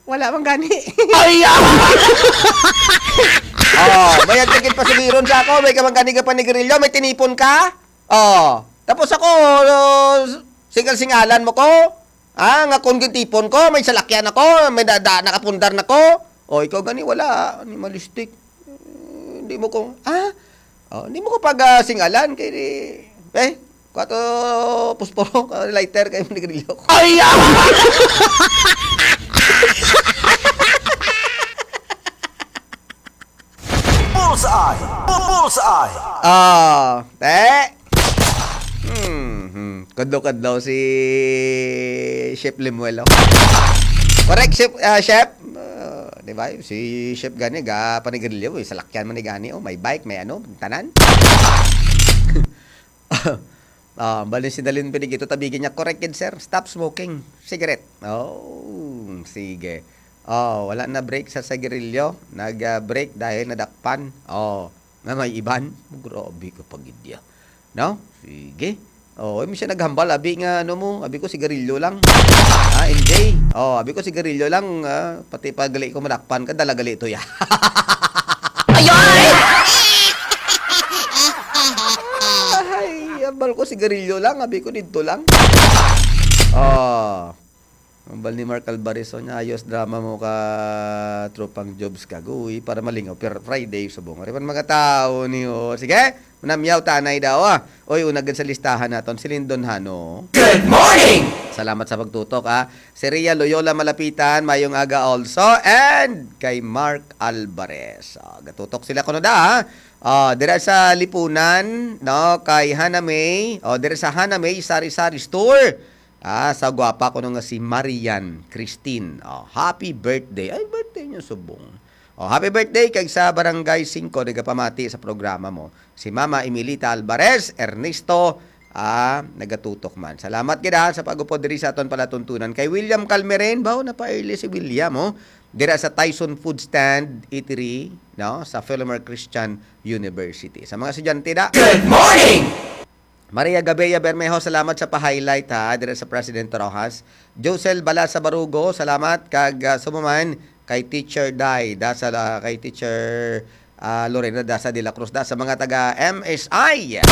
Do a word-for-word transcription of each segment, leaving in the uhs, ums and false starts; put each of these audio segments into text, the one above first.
Wala man gani. Ay, ah! Oh, may agtigit pa sugiron sa ako, may ka man gani ka panigrilyo, may tinipon ka? Oh, tapos ako, uh, singal-singalan mo ko? Ah, nga kung gintipon ko, may salakyan ako, may dada, nakapundar na ko. Oh, ikaw gani, wala, animalistic. Eh, Hindi mo ko, ah? Oh, hindi mo ko pag ah, singalan, kay di, eh, kwato, pusporo, ka lighter, kay manigrilyo ko. Ay, ah! Bullseye! Bullseye! Ah, te. Hmm, hmm. Kadlaw-kadlaw si Chef Lemuel, oh. Correct, Chef, ah, Chef. Ah, di ba? Si Chef gani, ga panigrilyo, eh. Salakyan man ni gani, oh. May bike, may ano, tanan. Ah, bali si Dalin Benedicto, tabigin niya, correct gid, sir. Stop smoking. Cigarette. Oh, sige. Oh, wala na break sa sigarilyo. Nag-break dahil nadakpan. Oh, na may iban. Grabe ka pagidya. No? Sige. Oh, imo siya naghambal, abi nga ano mo, abi ko sigarilyo lang. Ah, M J. Oh, abi ko sigarilyo lang, ah, pati pag gali ko madakpan ka, dala gali to ya. Ay, ambal ko sigarilyo lang, abi ko didto lang. Oh. Ambal ni Mark Alvarez, oh, niya, ayos drama mo ka tropang Jobs Kagoy para malingaw. Pero Friday, subong. Ari man mga tao ni, oh. Sige, manamyaw tanay daw, ah. Oy, una gid sa listahan naton, si Lindon Hano. Good morning! Salamat sa pagtutok, ah. Si Ria Loyola Malapitan, mayong aga also. And kay Mark Alvarez. Ah, gatutok sila kuno da, ah. Ah, dira sa Lipunan, no, kay Hana May. Oh, dira sa Hana May Sari-Sari Store. Ah, sa gwapa ko nga si Marian Christine. Oh, happy birthday. Ay, birthday niya subong. Oh, happy birthday kag sa Barangay Singko, nagapamati sa programa mo. Si Mama Emilita Alvarez, Ernesto, ah, nagatutok man. Salamat gid, ah, sa pag-upod diri sa aton palatuntunan. Kay William Calmeren, bao na pa early si William, oh. Dira sa Tyson Food Stand Eatery, no, sa Philomar Christian University. Sa mga estudyante da, Good morning! Maria Gabea Bermejo, salamat sa pa-highlight, ha, dira sa President Rojas. Josel Balasa Barugo, salamat kag, ah, sumuman kay Teacher Day, da sa, ah, kay Teacher, ah, Lorena Dasa de la Cruz, da sa mga taga M S I.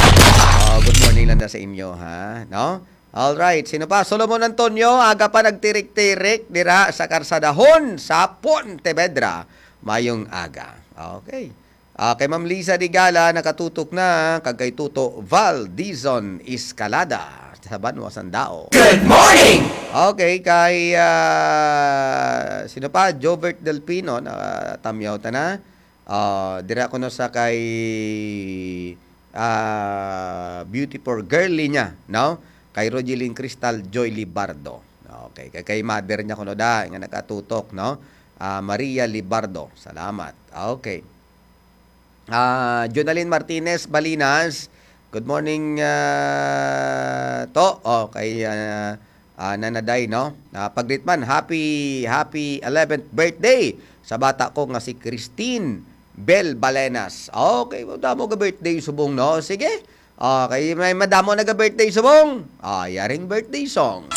Oh, good morning lang da sa inyo, ha, no? All right, sino pa? Solomon Antonio, aga pa nagtirik-tirik dira sa Karsadahon sa Pontevedra. Mayong aga. Okay. Ah, kay Ma'am Lisa Digala, nakatutok na, kag kay Tuto Val Dizon Escalada sa Banwa Sandao. Good morning! Okay, kay, ah, sino pa? Jobert Delpino, na tamyaw ta na. Ah, dira ko no sa kay, ah, beautiful girly niya, no? Kay Rogeline Cristal Joy Libardo. Okay, kay, kay mother niya kuno da, nga nakatutok, no? Ah, Maria Libardo. Salamat. Okay. Ah, Jonalyn Martinez Balinas. Good morning, ah, to. Oh, kay, ah, ah, Nanaday, no? Ah, pagreet man, happy, happy eleventh birthday sa bata ko nga si Christine Bel Balenas. Okay, damo ka birthday subong, no? Sige. Okay, may madamo na ka birthday subong. Ah, yaring birthday song.